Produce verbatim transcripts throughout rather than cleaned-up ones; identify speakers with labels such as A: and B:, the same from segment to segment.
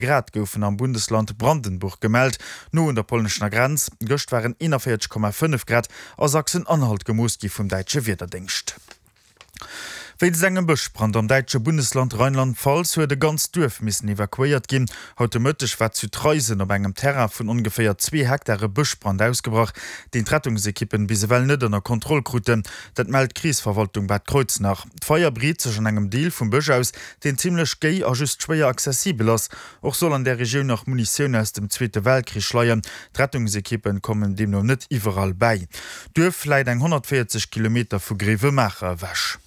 A: Grad goufen am Bundesland Brandenburg gemellt, no un der polnescher Grenz. Gëscht waren eenanvéierzeg Komma fënnef Grad a Sachsen-Anhalt gemooss gi vum däitsche Wiederdéngscht. Wéinst engem Bëschbrand am däitsche Bundesland Rheinland-Pfalz huet e ganzt Duerf missen evakuéiert ginn. Haut de Mëtteg war zu Traisen op engem Terrain vun ongeféier zwee Hektar e Bëschbrand ausgebrach, deen d'Rettungsekippen bis ewell net ënner Kontroll kruten. Dat mellt d'Krisverwaltung Bad Kreuznach. D'Feier breet sech an engem Deel vum Bësch aus, deen zimmlech géi a just schwéier accessibel ass. Och soll an där Regioun nach Munitioun aus dem Zweete Weltkrich leien. D'Rettungsekippen kommen deemno net iwwerall bäi. D'Duerf läit eng honnertvéierzeg Kilometer vu Grevenmacher ewech.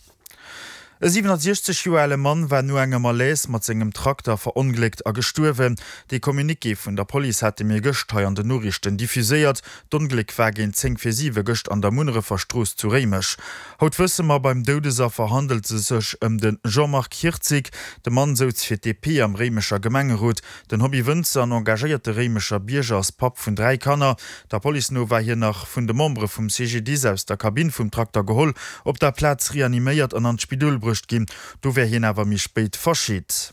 A: E siwenasiechzeg Joer ale Mann war no engem Malaise mat sengem Trakter verongléckt a gestuerwen. Dee Communiqué vun der Police hate mir gëscht hei an den Noriichten diffuséiert. D'Ongléck war géint zéng vir siwe gëscht an der Munnerefer Strooss zu Réimech. Haut wësse mer, beim Doudesaffer handelt se sech ëm de Jean-Marc Hirtzig. De Mann souz fir d'DP am Réimecher Gemengerot. Den Hobby-Wënzer an engagéierte Réimecher Bierger ass Papp vun dräi Kanner. Der Police no war hien nach vun de Membere vum C G D I S aus der Kabinn vum Trakter geholl, op der Plaz reaniméiert an an d'Spidol bruecht ginn. Do wär hien awer méi spéit verscheet.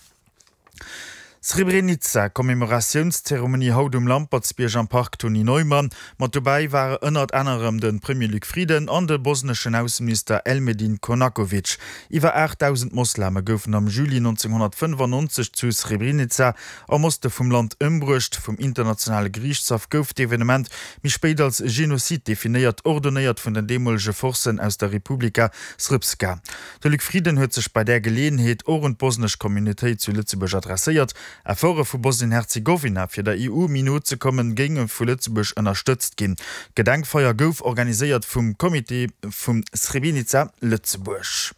A: Srebrenica, Commémoratiounszeremonie haut um Lampertsbierg am Park Tony Neumann. Mat dobäi ware ënnert anerem de Premier Luc Frieden an de bosneschen Ausseminister Elmedin Konakovic. Iwwer aachtdausend Mosleme goufen am Juli nonzénghonnertfënnefannonzeg zu Srebrenica am Oste vum Land ëmbruecht. Vum internationale Geriichtshaff gouf d'Evenement méi spéit als Genozid definéiert, ordonéiert vun den deemolege Forcen aus der Republika Srpska. De Luc Frieden huet sech bei där Geleeënheet och un d'bosnesch Communautéit zu Lëtzebuerg adresséiert. Efforte vu Bosnien-Herzegowina, fir der E U méi no ze kommen, géinge vu Lëtzebuerg ënnerstëtzt ginn. D'Gedenkfeier gouf organiséiert vum Comité vu Srebrenica Lëtzebuerg.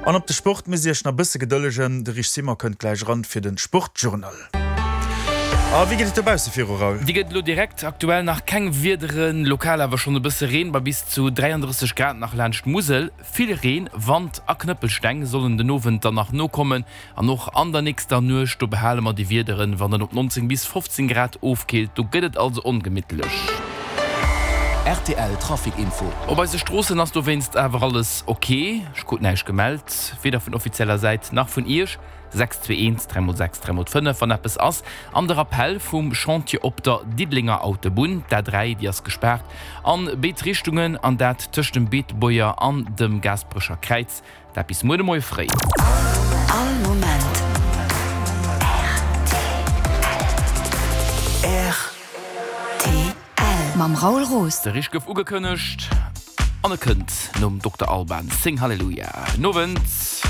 A: An op de Sport musst Dir Iech nach e bësse gedëllegen, de Rich Simon kënnt gläich eran fir de Sportjournal. A wéi geet et dobausse viru, Raoul?
B: Déi gëtt elo direkt. Aktuell nach keng Wiederen, lokal awer schonn e bësse Reen bei bis zu dräiandrësseg Grad nach laanscht d'Musel. Vill Reen, Wand a Knëppelsteng sollen den Owend dann nach nokommen an och an der nächster Nuecht. Do behale mer déi Wiederen, wann et op neunzéng bis fofzéng Grad ofkillt. Do gëtt et also ongemittlech.
C: R T L Trafic Info.
B: Op eise Stroossen ass dowéinst awer alles ok. Ech krut näischt gemellt, weder vun offizieller Säit nach vun Iech. sechs zwee eent dräi mol sechs dräi mol fënnef wann eppes ass. An de Rappell vum Chantier op der Diddelenger Autobunn, d'A dräi, déi ass gespaart an béid Richtungen, an dat tëscht dem Beetebuerger an dem Gaasperecher Kräiz, dat bis muer de Moie fréi.
D: All Moment R T L mam Raoul Roos.
B: De Rich gouf ugekënnegt an e kënnt nom Dokter Alban. Sing Hallelujah. Nowend.